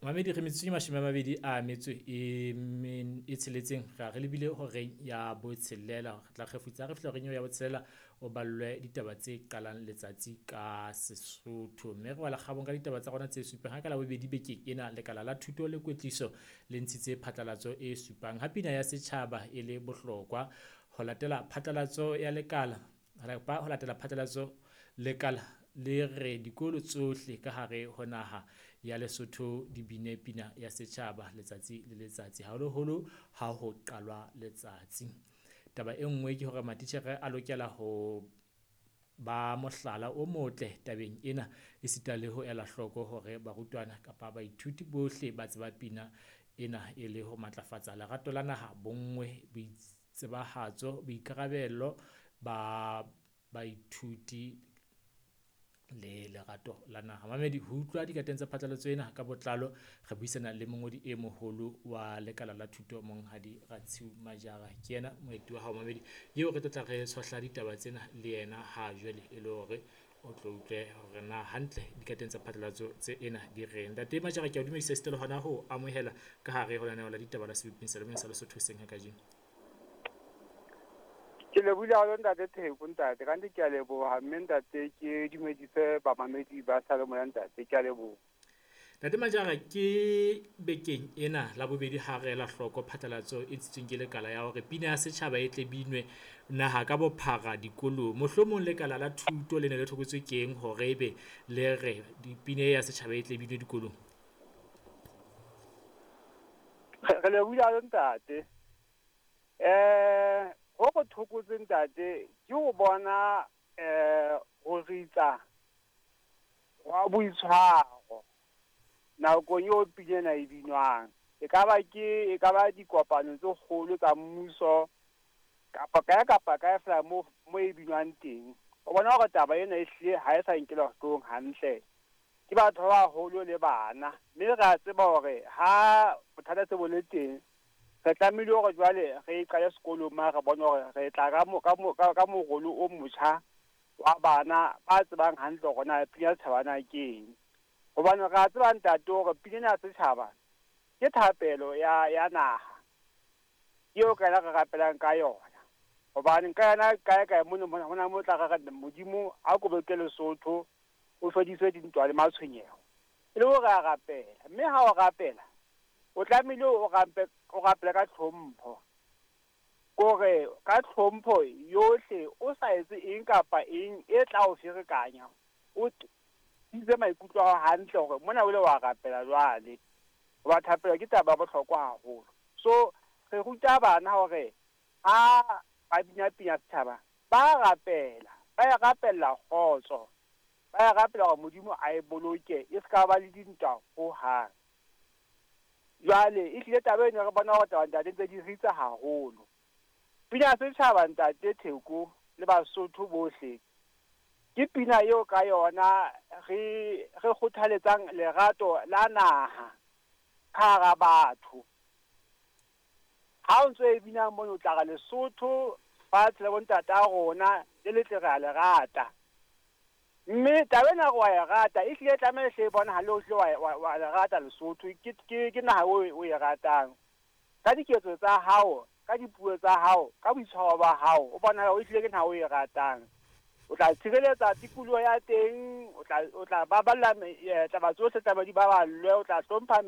Mamedi re metsotso e 26 ra re lebile horeng ya botshelela. Re tla kgefutsa re fihla horeng eo ya botshelela, o ballwe ditaba tse qalang letsatsi ka Sesotho. Mme re wela kgabong ka ditaba tsa rona tse supang. Ha ka Labobedi bekeng ena, lekala la thuto le kwetliso le ntshitse phatlalatso e supang ha pina ya setjhaba e le bohlokwa. Ho latela phatlalatso ya lekala, ho latela phatlalatso lekala le re dikolo tsohle ka hare ho naha ya Lesotho di bine pina ya setjhaba letsatsi le letsatsi, haholoholo ha ho qalwa letsatsi. Taba e nngwe ke hore matitjhere a lokela ho ba mohlala o motle tabeng ena, esita le ho ela hloko hore barutwana kapa baithuti bohle ba tseba pina ena e le ho matlafatsa lerato la naha, bonngwe, boitsebahatso, boikarabelo ba baithuti le lerato la naha. Mamedi, ho utlwa dikateng tsa phatlalatso ena ka botlalo, re buisana le mongodi e moholo wa lekala la thuto, Monghadi Ratshiu Majara. Ke yena moeti wa hao mamedi eo re tlo tla re tshohla ditaba tsena le yena ha jwale, e le hore o tlo utlwe hore na hantle dikateng tsa phatlalatso tse ena di reng. Ntate Majara, ke a o dumedisa esita le hona ho amohela ka hare ho lenaneo la ditaba la Seboping sa Lemong sa Lesotho hoseng ha kajeno. Ke lebohile haholo ntate Theko, ntate. Ka nnete ke a leboha, mme ntate ke dumedise bamamedi ba salemoya ntate, ke a leboha. Ntate Majara, ke bekeng ena Labobedi ha re ela hloko phatlalatso e ntshitsweng ke lekala ya hore pina ya setjhaba e tle binwe naha ka bophara dikolong. Mohlomong lekala la thuto le ne le thokotswe keng hore ebe le re pina ya setjhaba e tle binwe dikolong? Re lebohile haholo ntate. Ho re thokotse ntate ke ho bona ho ritsa wa boitshwaro nakong eo pina ena e binwang. E ka ba ke, e ka ba dikopano tse kgolo tsa mmuso kapa kae kapa kae fela mo e binwang teng. O bona hore taba ena e hlile ha e sa nkelwa hloohong hantle ke batho ba baholo le bana. Mme re a tseba hore ha bothata se bo le teng, re tlamehile hore jwale re qale sekolong ma re bone hore re tla ka morolo o motjha wa bana ba tsebang hantle hore na pina ya setjhaba na ke eng. Hobane re a tseba ntate hore pina ena ya setjhaba ke thapelo ya naha eo ka yona re rapelang ka yona. Hobane ka yona kae kae mono hona mo tla re re Modimo a kobeke Lesotho, o fedise dintwa le matshwenyeho. E le hore a rapela, mme ha o rapela o tlamehile o rapele ka tlhompho. Kore ka tlhompho yohle o sa etse eng kapa eng e tla o ferekanya, o itse maikutlo a hao hantle hore mona o ile wa rapela jwale. Hoba thapelo ke taba ya bohlokwa haholo. So re ruta bana hore ha ba bina pina setjhaba ba rapela, ba e rapella kgotso, ba e rapela hore Modimo a e boloke e ska ba le dintwa hohang. Jwale e hlile taba eno re bona hore taba ntate ntse di ritsa haholo. Pina ya setjhaba ntate Theko le Basotho bohle ke pina eo ka yona re kgothaletsang lerato la naha ka hara batho. Ha o ntso e bina mono o tla re Lesotho fatshe la bontata rona le letle re a le rata. Mme taba ena wa e rata e hlile tlameha hle e bonahale o hlile wa le rata Lesotho, ke naha o e ratang. Ka diketso tsa hao, ka dipuo tsa hao, ka boitshwaro ba hao, o bonahala o hlile ke naha o e ratang. O tla tshireletsa tikoloho ya teng, o tla baballa taba tsohle tsa di baballwe, o tla hlompha